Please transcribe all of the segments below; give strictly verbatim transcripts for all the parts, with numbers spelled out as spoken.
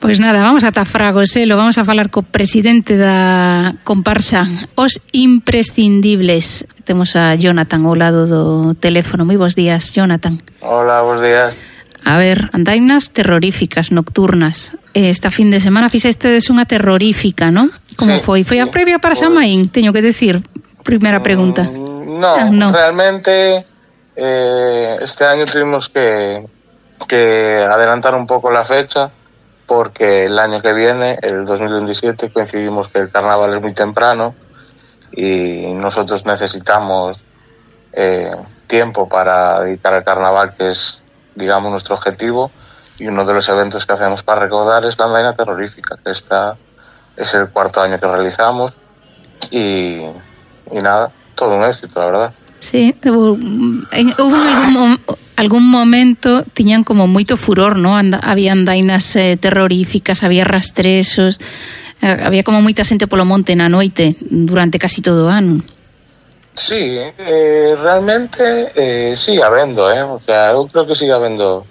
Pois nada, vamos ata Fragoselo, vamos a falar co presidente da comparsa Os Imprescindibles. Temos a Jonathan ao lado do teléfono. Moi bons días, Jonathan. Hola, bons días. A ver, andainas terroríficas, nocturnas. Esta fin de semana fixestedes unha terrorífica, non? Como sí, foi? Foi a previa para San Maín, teño que decir. Primeira pregunta. Mm, no, ah, no, realmente eh, este año tuvimos que, que adelantar un poco la fecha, porque el año que viene, el dos mil veintisiete, coincidimos que el carnaval es muy temprano y nosotros necesitamos eh, tiempo para dedicar al carnaval, que es, digamos, nuestro objetivo, y uno de los eventos que hacemos para recaudar es la andaina terrorífica, que esta es el cuarto año que realizamos y, y nada, todo un éxito, la verdad. Sí, hubo, en, hubo algún, algún momento tiñan como moito furor, ¿no? Anda, había andainas eh, terroríficas, había rastrezos, eh, había como moita xente polo monte na noite durante casi todo o ano. Sí, eh, realmente eh, sigue habendo, eh? O sea, eu creo que sigue habendo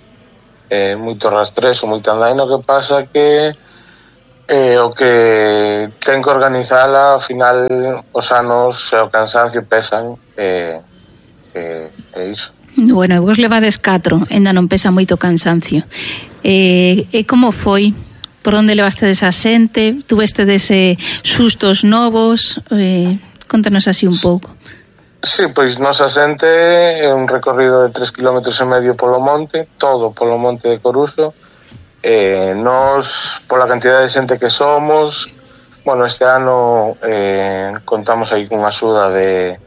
eh, moito rastrezo, moita andaina. O que pasa que eh, o que ten que organizala, ao final os anos e o cansancio pesan, e eh, eh, iso. Bueno, vos levades catro, ainda non pesa moito cansancio. Eh, e como foi? Por onde levastedes a xente? Tuvestedes eh, sustos novos? Eh, contanos así un pouco. Sí, pois nosa xente é un recorrido de tres kilómetros e medio polo monte, todo polo monte de Coruso. Eh, nos, pola cantidad de xente que somos, bueno, este ano eh, contamos aí cunha axuda de,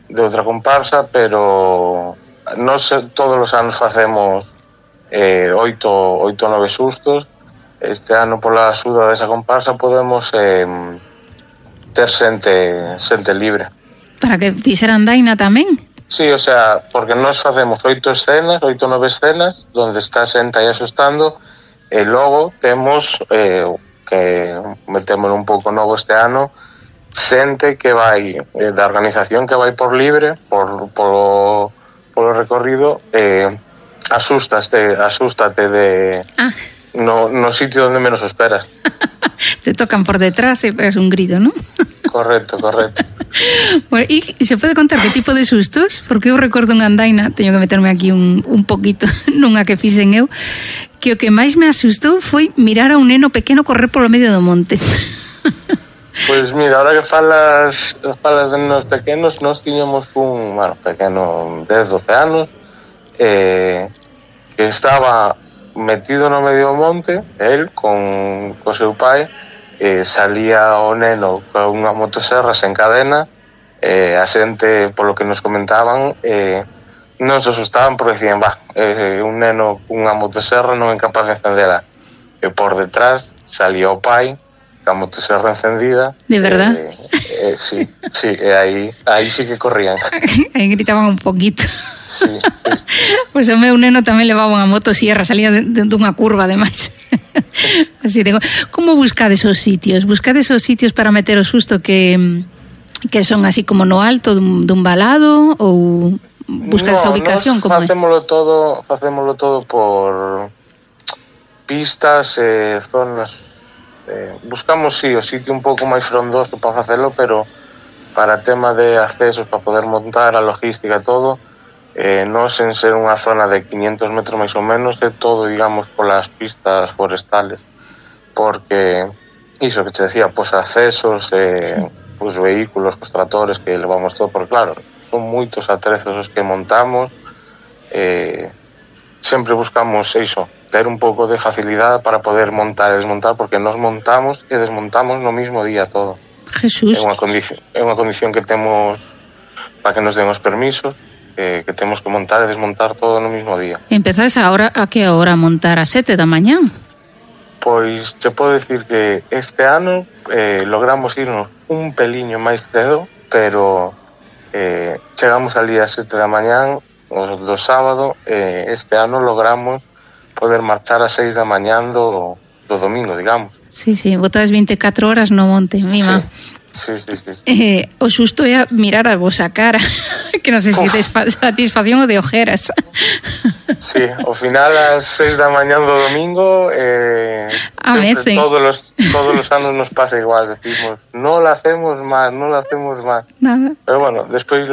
de outra comparsa, pero nos todos os anos facemos eh, oito, oito nove sustos. Este ano, pola axuda desa comparsa, podemos eh, ter xente, xente libre. Para que fixera andaina tamén? Sí, o sea, porque nós facemos oito escenas, oito nove escenas, onde está xente aí asustando. E logo temos, eh, que metemos un pouco novo este ano, xente que vai, eh, da organización que vai por libre, por, por, polo recorrido, eh, asústate, asústate de, ah. no, no sitio onde menos o esperas. Te tocan por detrás e pegas un grito, ¿no? Correcto, correcto. Bueno, e se pode contar que tipo de sustos? Porque eu recordo unha andaina, teño que meterme aquí un, un poquito nunha que fixen eu, que o que máis me asustou foi mirar a un neno pequeno correr polo medio do monte. Pois mira, ahora que falas falas de nenos pequenos, nós tiñamos un, bueno, pequeno dez, doce anos, eh, que estaba metido no medio do monte, el con co seu pai, eh, salía o neno con unha motoserra sen cadena, eh, a xente, polo que nos comentaban, eh, non se asustaban porque decían, va, eh, un neno cunha motoserra non é capaz de encendela. E por detrás salía o pai ca motoserra encendida. De verdad? Eh, eh, sí, sí, e aí, aí sí que corrían. Aí gritaban un poquito. Sí, sí. Pois o meu neno tamén levaba unha motosierra, salía de, de, dunha curva, ademais. Así digo, como buscades os sitios? Buscades os sitios para meter o susto que, que son así como no alto dun, dun valado ou buscades no, a ubicación? Como facémolo todo, facémolo todo por pistas e eh, zonas. Eh, buscamos, sí, o sitio un pouco máis frondoso para facelo, pero para tema de accesos, para poder montar a logística e todo, eh, non sen ser unha zona de quinientos metros máis ou menos, é todo, digamos, polas pistas forestales, porque iso que te decía, pois accesos, eh, sí. Os vehículos, os tractores que levamos todo, porque claro, son moitos atrezos os que montamos, eh, sempre buscamos iso, ter un pouco de facilidade para poder montar e desmontar, porque nos montamos e desmontamos no mismo día todo. Jesús. É unha condición, é unha condición que temos para que nos den os permisos, eh, que temos que montar e desmontar todo no mismo día. Empezades agora a que hora a montar? A sete da mañá? Pois te podo decir que este ano eh, logramos irnos un peliño máis cedo, pero eh, chegamos ali a sete da mañá o do sábado, eh, este ano logramos poder marchar a seis da mañá do, do domingo, digamos. Sí, sí, botades vinte e catro horas no monte, mima. Sí, sí, sí. sí. Eh, o susto é mirar a vosa cara, que non sei se de satisfacción ou de ojeras. Sí, ao final ás seis da mañá do domingo eh, todos los, todos los anos nos pasa igual, decimos, non la hacemos máis, non la hacemos máis. Nada. Pero bueno, despois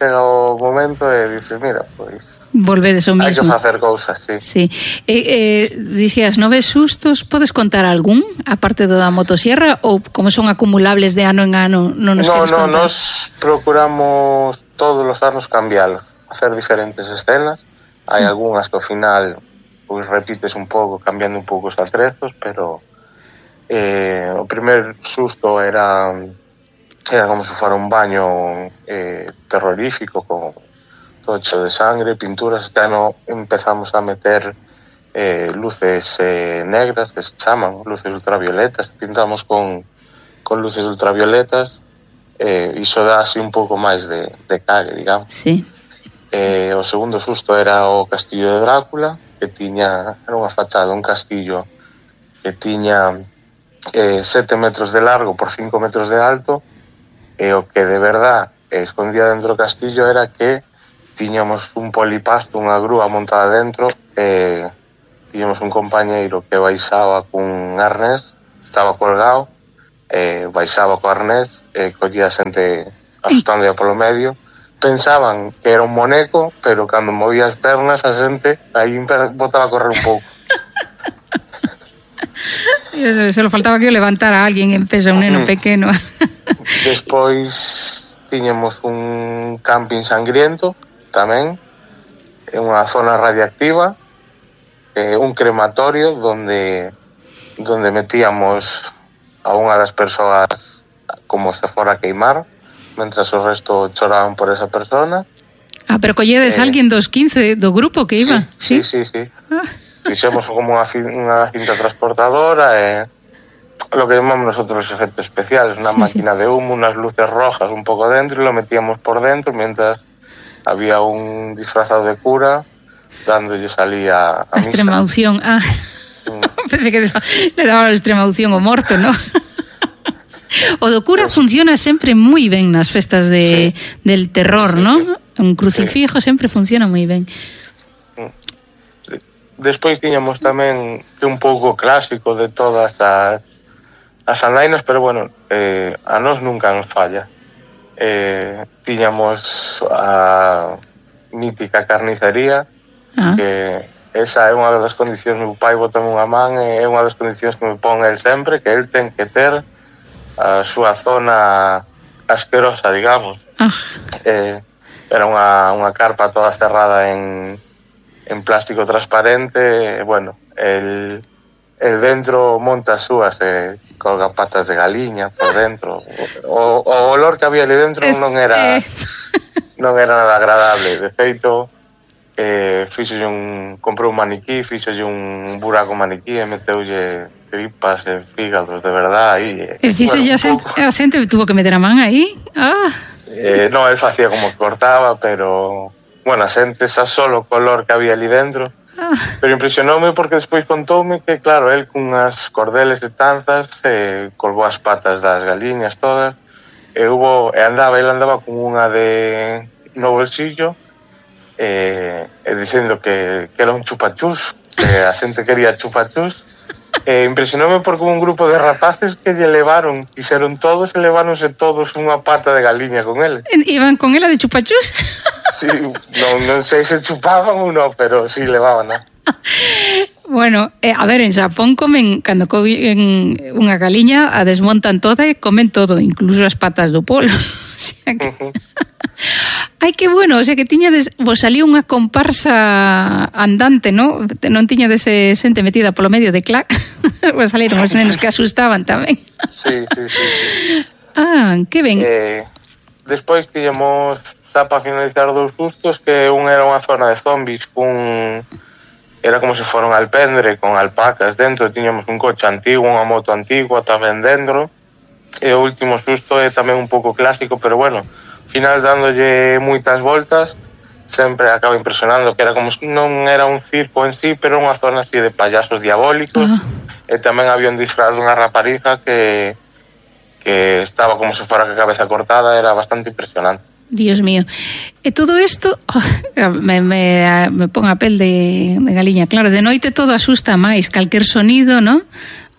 chega o momento e dices, mira, pois volvedes o mismo. Hai que facer cousas, sí. Sí. Eh, eh, dicías, nove sustos, podes contar algún, aparte do da motosierra, ou como son acumulables de ano en ano, non nos no, queres no, contar? No, nos procuramos todos os anos cambiarlo, hacer diferentes escenas. Sí. Hai algunhas que ao final pois repites un pouco, cambiando un pouco os atrezos, pero eh, o primer susto era era como se fora un baño eh, terrorífico con todo hecho de sangre, pinturas. Este ano empezamos a meter eh, luces eh, negras, que se chaman luces ultravioletas, pintamos con, con luces ultravioletas, eh, iso dá así un pouco máis de, de cague, digamos. Sí. Eh, o segundo susto era o castillo de Drácula, que tiña, era unha fachada, un castillo que tiña eh, sete metros de largo por cinco metros de alto, e o que de verdad eh, escondía dentro do castillo era que tiñamos un polipasto, unha grúa montada dentro, e tiñamos un compañeiro que baixaba cun arnés, estaba colgado, e baixaba co arnés, e collía a xente asustando polo medio. Pensaban que era un moneco, pero cando movía as pernas a xente aí botaba a correr un pouco. Solo faltaba que o levantara a alguén en peso, un neno pequeno. Despois tiñamos un camping sangriento tamén, en unha zona radiactiva, eh, un crematorio donde donde metíamos a unha das persoas como se fora a queimar, mentras o resto choraban por esa persona. Ah, pero colledes eh, alguén dos quince do grupo que iba? Sí, sí, sí, sí. Ah. Fixemos como unha, unha cinta transportadora e eh, lo que llamamos nosotros efectos especiales, unha sí, máquina sí. de humo, unas luces rojas un pouco dentro, e lo metíamos por dentro mientras había un disfrazado de cura dándolle salía a, a extrema unción. Ah, mm. Pensé que le daba a extrema unción o morto, ¿no? O do cura pues, funciona sempre moi ben nas festas de, sí. del terror, sí, ¿no? Sí. Un crucifijo sí. sempre funciona moi ben. Despois tiñamos tamén que un pouco clásico de todas as, as andainas, pero bueno, eh, a nós nunca nos falla. Eh, tiñamos a mítica carnicería, ah. que esa é unha das condicións, meu pai botame unha man, é unha das condicións que me pon el sempre, que el ten que ter a súa zona asquerosa, digamos. Ah. Eh, era unha, unha carpa toda cerrada en, en plástico transparente, bueno, el, el dentro monta as súas, eh, colga patas de galiña por dentro. O, o olor que había ali dentro es, non era eh... non era nada agradable. De feito, eh, fixolle un, comprou un maniquí, fixolle un buraco maniquí e meteulle tripas e fígados, de verdad, aí. E fixolle bueno, a xente tuvo que meter a man aí? Ah. Eh, no, él facía como que cortaba, pero bueno, a xente xa solo o color que había ali dentro. Pero impresionoume porque despois contoume que, claro, el cunhas cordeles e tanzas eh, colgou as patas das galiñas todas e hubo, e andaba, ele andaba con unha de no bolsillo e, e dicendo que, que era un chupachús, que a xente quería chupachús. E impresionoume porque un grupo de rapaces que lle levaron, quixeron todos e leváronse todos unha pata de galiña con ele. Iban con ela de chupachús? Sí, non, non sei se chupaban ou non, pero sí levaban, ¿no? Bueno, eh, a ver, en Xapón comen, cando comen unha galiña, a desmontan toda e comen todo, incluso as patas do polo. O sea que... Uh-huh. Ai, que bueno, o sea que tiñades, vos salió unha comparsa andante, ¿no? Non tiñades xente metida polo medio de clac. Vos saliron os nenos que asustaban tamén. Sí, sí, sí, sí. Ah, que ben. Eh, despois tiñamos, xa para finalizar, dous sustos, que un era unha zona de zombies cun... Era como se fora un alpendre con alpacas dentro, tiñamos un coche antigo, unha moto antigua tamén dentro. E o último susto é tamén un pouco clásico, pero bueno, ao final dándolle moitas voltas, sempre acaba impresionando, que era como non era un circo en sí, pero unha zona así de payasos diabólicos. Uh-huh. E tamén había un disfraz dunha rapariga que que estaba como se fora a cabeza cortada, era bastante impresionante. Dios mío. E todo isto oh, me, me, me pon a pel de, de galiña. Claro, de noite todo asusta máis, calquer sonido, ¿no?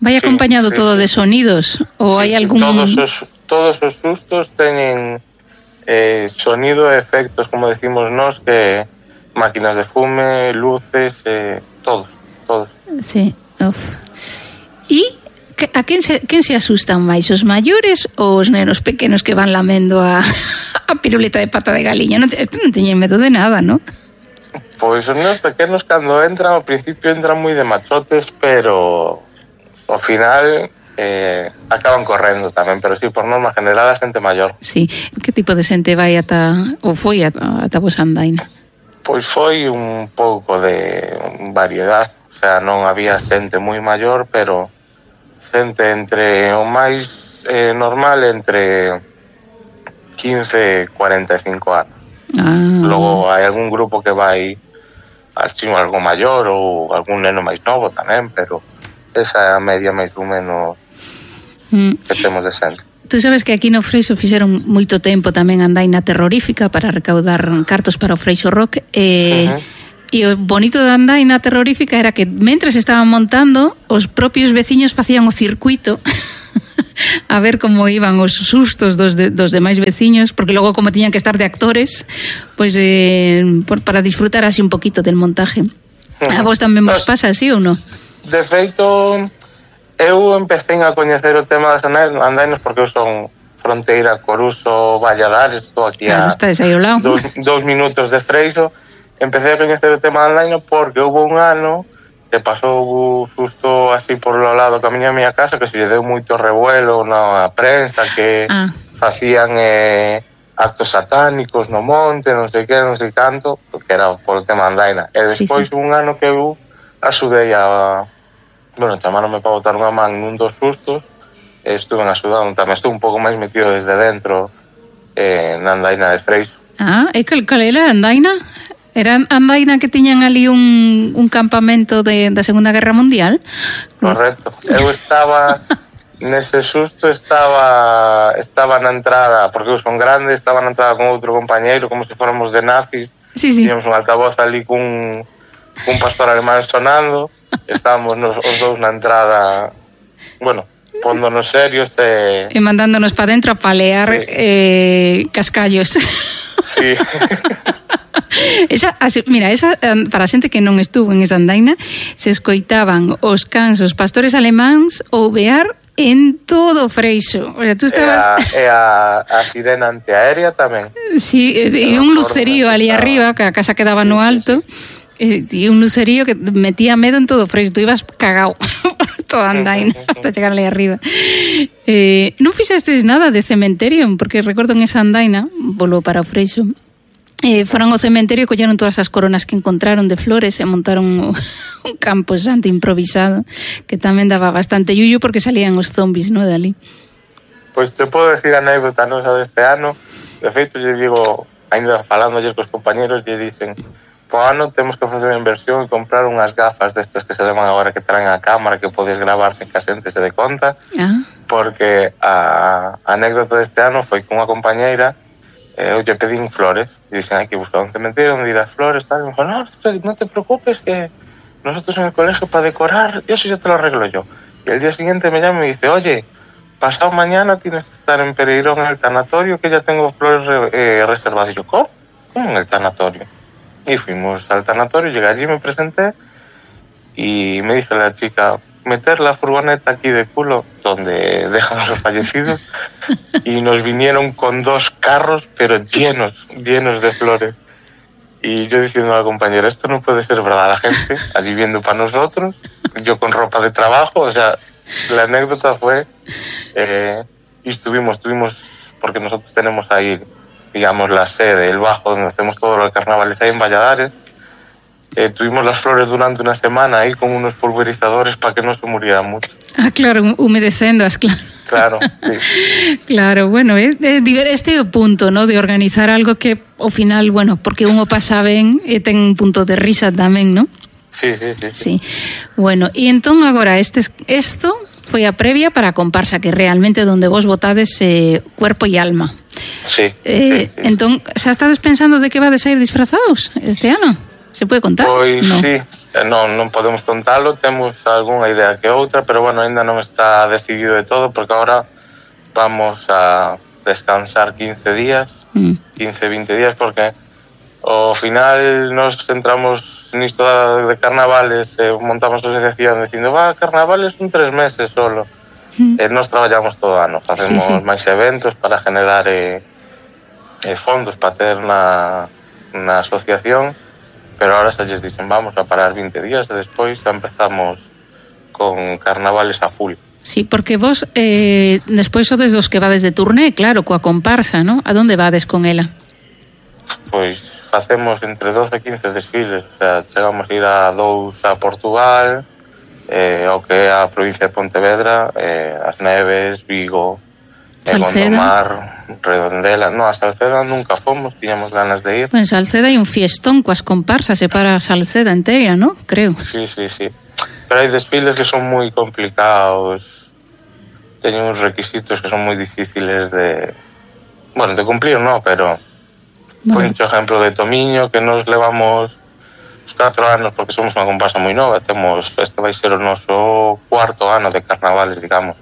Vai acompañado sí, sí, todo sí. de sonidos ou sí, hai algún... Todos os, todos os sustos teñen eh, sonido e efectos, como decimos nós, que máquinas de fume, luces, eh, todos, todos. Sí, uf. E a quen se, quen se asustan máis, os maiores ou os nenos pequenos que van lamendo a, a piruleta de pata de galiña? Non, este non teñen medo de nada, non? Pois os nenos pequenos cando entran, ao principio entran moi de machotes, pero ao final eh, acaban correndo tamén, pero sí, por norma general a xente maior. Sí, que tipo de xente vai ata, ou foi ata, ata vos andaina? Pois foi un pouco de variedade, o sea, non había xente moi maior, pero xente entre o máis eh, normal entre quince e cuarenta e cinco anos. Ah. Logo hai algún grupo que vai así algo maior ou algún neno máis novo tamén, pero esa é a media máis ou menos mm. que temos de xente. Tú sabes que aquí no Freixo fixeron moito tempo tamén andaina terrorífica para recaudar cartos para o Freixo Rock e... Uh-huh. E o bonito da andaina terrorífica era que mentres estaban montando, os propios veciños facían o circuito a ver como iban os sustos dos, de, dos demais veciños, porque logo como tiñan que estar de actores, pois eh, por, para disfrutar así un poquito del montaje. A vos tamén vos pasa así ou non? De feito, eu empecé a coñecer o tema das andainas porque eu son fronteira Coruso, Valladares, estou aquí claro, a dos, dos minutos de Freixo. Empecé a coñecer o tema da andaina porque houve un ano que pasou o susto así por lo lado camiño a miña casa que se lle deu moito revuelo na prensa que ah. facían eh, actos satánicos no monte, non sei que, non sei canto, que era por o tema da andaina. E despois sí, sí. un ano que eu axudei a... Bueno, chamaronme para botar unha man nun dos sustos e estuve axudando tamén, estuve un pouco máis metido desde dentro eh, na andaina de Freixo. Ah, e cal, cal era a andaina? Era andaina que tiñan ali un, un campamento de, da Segunda Guerra Mundial? Correcto. Eu estaba, nese susto, estaba estaba na entrada, porque eu son grande, estaba na entrada con outro compañeiro, como se fóramos de nazis. Sí, sí. Tiñamos un altavoz ali cun, cun pastor alemán sonando, estábamos nos, os dous na entrada, bueno, pondonos serios e... E mandándonos para dentro a palear sí. eh, cascallos. Sí. Esa, mira, esa, para a xente que non estuvo en esa andaina, se escoitaban os cans, os pastores alemáns ouvear en todo Freixo. O sea, tú estabas... E a, a, a sirena antiaérea tamén. Sí, e un lucerío ali arriba, que a casa quedaba no alto, e un lucerío que metía medo en todo Freixo. Tú ibas cagao toda andaina hasta chegar ali arriba. Eh, non fixestes nada de cementerio, porque recordo en esa andaina, volvo para o Freixo, Eh, foron ao cementerio, colleron todas as coronas que encontraron de flores e montaron un campo santo improvisado que tamén daba bastante yuyu porque salían os zombies, ¿no?, de ali. Pois te podo decir a anécdota nosa deste ano. De feito, lle digo, ainda falando ayer cos compañeros, lle dicen po ano temos que facer unha inversión e comprar unhas gafas destas que se levan agora que traen a cámara que podes gravar sen que a xente se dé conta, ah. porque a, a anécdota deste ano foi con unha compañeira. Eh, eu lle pedín flores e dicen hai que buscar un cementerio onde ir as flores tal. E me dijo, no, no te preocupes que nosotros en el colegio para decorar eso ya te lo arreglo yo. Y el día siguiente me llama y me dice, oye, pasado mañana tienes que estar en Pereirón en el tanatorio que ya tengo flores eh, reservadas. Y yo, ¿cómo? ¿Cómo en el tanatorio? Y fuimos al tanatorio, llegué allí, me presenté y me dice la chica, meter la furgoneta aquí de culo donde dejan a los fallecidos y nos vinieron con dos carros pero llenos, llenos de flores y yo diciendo a la compañera esto no puede ser verdad, la gente allí viendo para nosotros, yo con ropa de trabajo, o sea, la anécdota fue eh, y estuvimos, estuvimos porque nosotros tenemos ahí digamos la sede, el bajo donde hacemos todo lo de carnavales ahí en Valladares. Eh, tuvimos las flores durante una semana ahí con unos pulverizadores para que no se murieran mucho. Ah, claro, humedecendoas, claro. Claro, sí. Claro, bueno, eh, este é o punto, ¿no?, de organizar algo que ao final, bueno, porque uno pasa ben e ten un punto de risa tamén, ¿no? Sí, sí, sí. Sí. Bueno, e entón agora este esto foi a previa para a comparsa, que realmente donde vos botades eh, cuerpo e alma. Sí, eh, sí, sí. Entón, xa estades pensando de que vades a ir disfrazados este ano? Se pode contar? Pois no. sí, non, non podemos contalo, temos algunha idea que outra, pero bueno, ainda non está decidido de todo, porque agora vamos a descansar quince días, mm. quince, vinte días, porque ao final nos centramos nisto de carnavales, eh, montamos a asociación dicindo, va, carnavales son tres meses solo. Mm. Eh, nos traballamos todo o ano, facemos sí, sí. máis eventos para generar eh, eh, fondos para ter na, na asociación, pero ahora xa lles dicen, vamos a parar vinte días e despois xa empezamos con carnavales a full. Sí, porque vos eh, despois sodes dos que vades de turné, claro, coa comparsa, ¿no? A donde vades con ela? Pois facemos entre doce e quince desfiles, o sea, chegamos a ir a dous a Portugal, eh, ao que é a provincia de Pontevedra, eh, As Neves, Vigo, Salceda, Gondomar, Redondela. No, a Salceda nunca fomos, tiñamos ganas de ir. Pues en Salceda hai un fiestón coas comparsas, se para Salceda entera, ¿no? Creo. Sí, sí, sí. Pero hai desfiles que son moi complicados, teñen uns requisitos que son moi difíciles de, bueno, de cumplir, no, pero no. Por exemplo de Tomiño, que nos levamos os catro anos, porque somos unha comparsa moi nova, temos, este vai ser o noso cuarto ano de carnavales, digamos.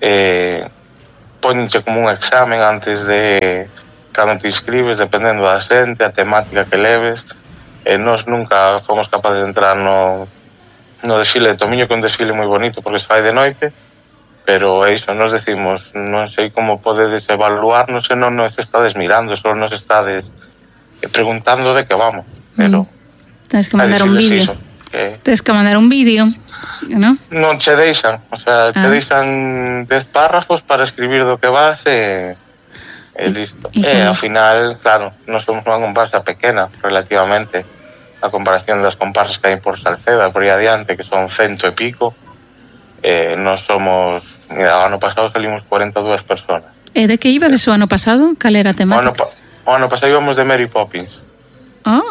Eh, ponenche como un examen antes de cando te inscribes, dependendo da xente, a temática que leves. Eh, nos nunca fomos capaces de entrar no, no desfile de Tomiño, que é un desfile moi bonito porque se fai de noite, pero é iso, nos decimos, non sei como podedes evaluar, non sei, non nos estades mirando, só nos estades preguntando de que vamos, pero mm. Tens que mandar un vídeo que... Tens que mandar un vídeo, non? Non che deixan, o sea, te ah. deixan dez párrafos para escribir do que vas e, e listo. E, e ao final, claro, non somos unha comparsa pequena relativamente a comparación das comparsas que hai por Salceda, por aí adiante, que son cento e pico. Eh, non somos, mira, o ano pasado salimos cuarenta e dúas personas. E de que iba de o ano pasado? Cal era a temática? O ano, o ano pasado íbamos de Mary Poppins. Ah.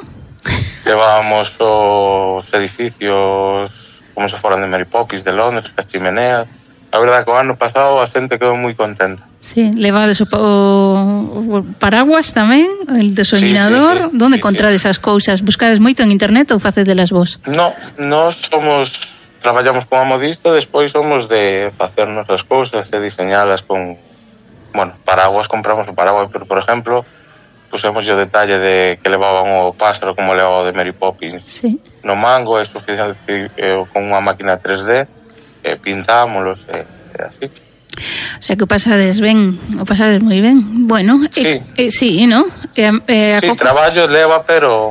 Levábamos os edificios como se foran de Mary Poppins, de Londres, as chimeneas. A verdade que o ano pasado a xente quedou moi contenta. Sí, levades o, o, o paraguas tamén, el desolinador. Sí, sí, sí. Donde sí, encontrades sí. as cousas? Buscades moito en internet ou facedelas vos? No, nós somos... Traballamos como modista, despois somos de facernos as cousas e diseñalas con, bueno, paraguas, compramos o paraguas, pero, por exemplo, pusemos o detalle de que levaban o páxaro como levaba o de Mary Poppins sí. no mango, e suficiente eh, con unha máquina tres D, e pintámolos, e, e así. O sea que o pasades ben, o pasades moi ben. Bueno, sí, eh, eh, sí, ¿no? Eh, eh, sí, traballo leva, pero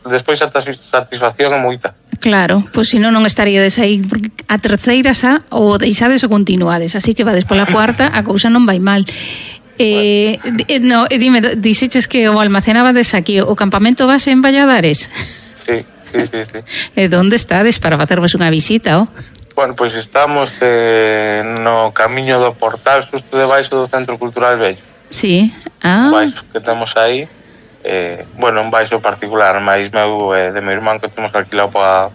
despois a satisfacción é moita. Claro, pois pues, se non non estaríades aí, porque a terceira xa ou deixades ou continuades, así que vades pola cuarta, a cousa non vai mal. Eh, bueno. No, dime, dixeches que o almacenabades aquí, o campamento base en Valladares? Sí, sí, sí, sí. E onde estades para facervos unha visita, oh? Bueno, pois pues estamos eh, no camiño do Portal, xusto debaixo do Centro Cultural Vello. Sí, ah. Baixo que temos aí. Eh, bueno, un baixo particular, máis meu e eh, de meu irmán que temos alquilado para,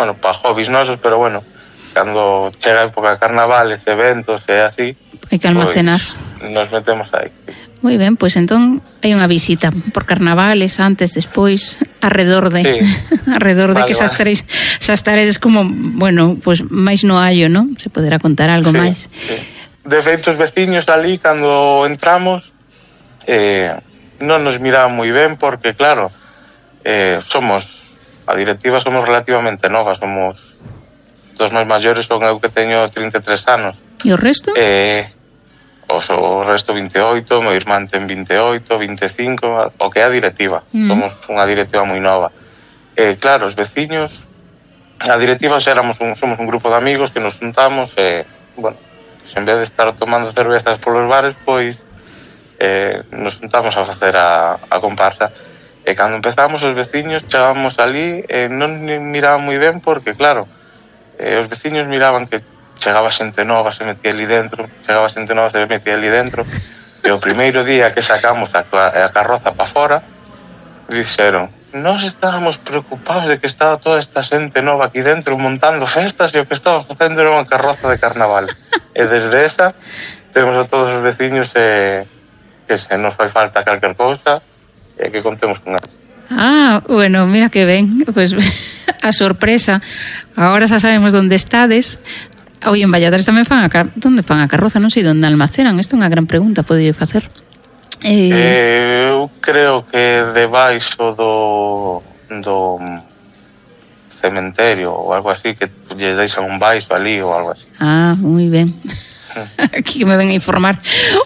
bueno, para hobbies nosos, pero bueno, cando chega a época de carnavales, eventos e así, hai que almacenar. Pues, nos metemos aí. Moi ben, pois pues, entón hai unha visita por carnavales, antes, despois, arredor de sí. arredor de vale, que xa estareis, xa estaredes como, bueno, pois pues, máis no hallo, ¿no? Se poderá contar algo sí, máis. Sí. De feito, os veciños ali, cando entramos, eh, non nos miraban moi ben porque, claro, eh, somos, a directiva somos relativamente novas, somos dos máis maiores, son eu que teño trinta e tres anos. E o resto? Eh, os, o resto vinte e oito, meu irmán ten vinte e oito, vinte e cinco, o que é a directiva. Mm. Somos unha directiva moi nova. Eh, claro, os veciños, a directiva éramos un, somos un grupo de amigos que nos juntamos e, bueno, pues en vez de estar tomando cervezas polos bares, pois Eh, nos juntamos a facer a, a comparsa e cando empezamos os veciños chegábamos ali e non miraban moi ben porque claro eh, os veciños miraban que chegaba xente nova, se metía ali dentro chegaba xente nova, se metía ali dentro e o primeiro día que sacamos a, a carroza para fora dixeron, nós estábamos preocupados de que estaba toda esta xente nova aquí dentro montando festas e o que estaba facendo era unha carroza de carnaval. E desde esa temos a todos os veciños e que se nos fai falta calquer cousa e que contemos con ela. Ah, bueno, mira que ben, pues a sorpresa. Agora xa sabemos onde estades. Oi, en Valladares tamén fan a car... Donde fan a carroza? Non sei onde almacenan. Isto é unha gran pregunta, podería facer. Eh... eh, eu creo que debaixo do do cementerio ou algo así, que lle deixan un baixo ali ou algo así. Ah, moi ben. Aquí que me ven a informar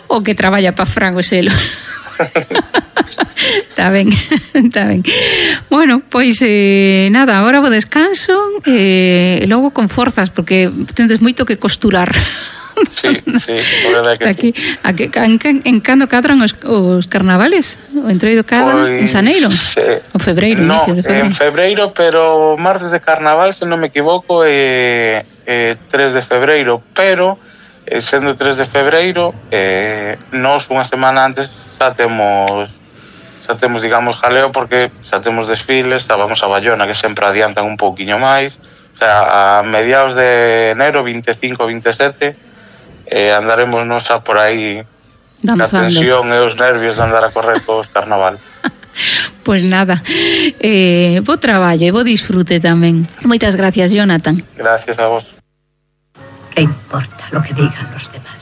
o que traballa pa Fran o Selo. Está ben, está ben. Bueno, pois eh, nada, agora vou descanso e eh, logo con forzas porque tendes moito que costurar. Sí, sí, por que aquí, sí. Aquí, en, en cando cadran os, os carnavales? O entroido cadran pois, en Xaneiro? Sí. O febreiro, no, inicio de febreiro? En febreiro, pero martes de carnaval, se non me equivoco, é eh, eh, tres de febreiro, pero eh, sendo tres de febreiro, eh, nós unha semana antes xa temos xa temos, digamos, jaleo porque xa temos desfiles, xa vamos a Bayona, que sempre adiantan un pouquiño máis, o sea, a mediados de enero, veinticinco, veintisiete, eh, andaremos nos xa por aí danzando. A tensión e os nervios de andar a correr cos carnaval. Pois pues nada, eh, bo traballo e bo disfrute tamén. Moitas gracias, Jonathan. Gracias a vos. ¿Qué importa lo que digan los demás?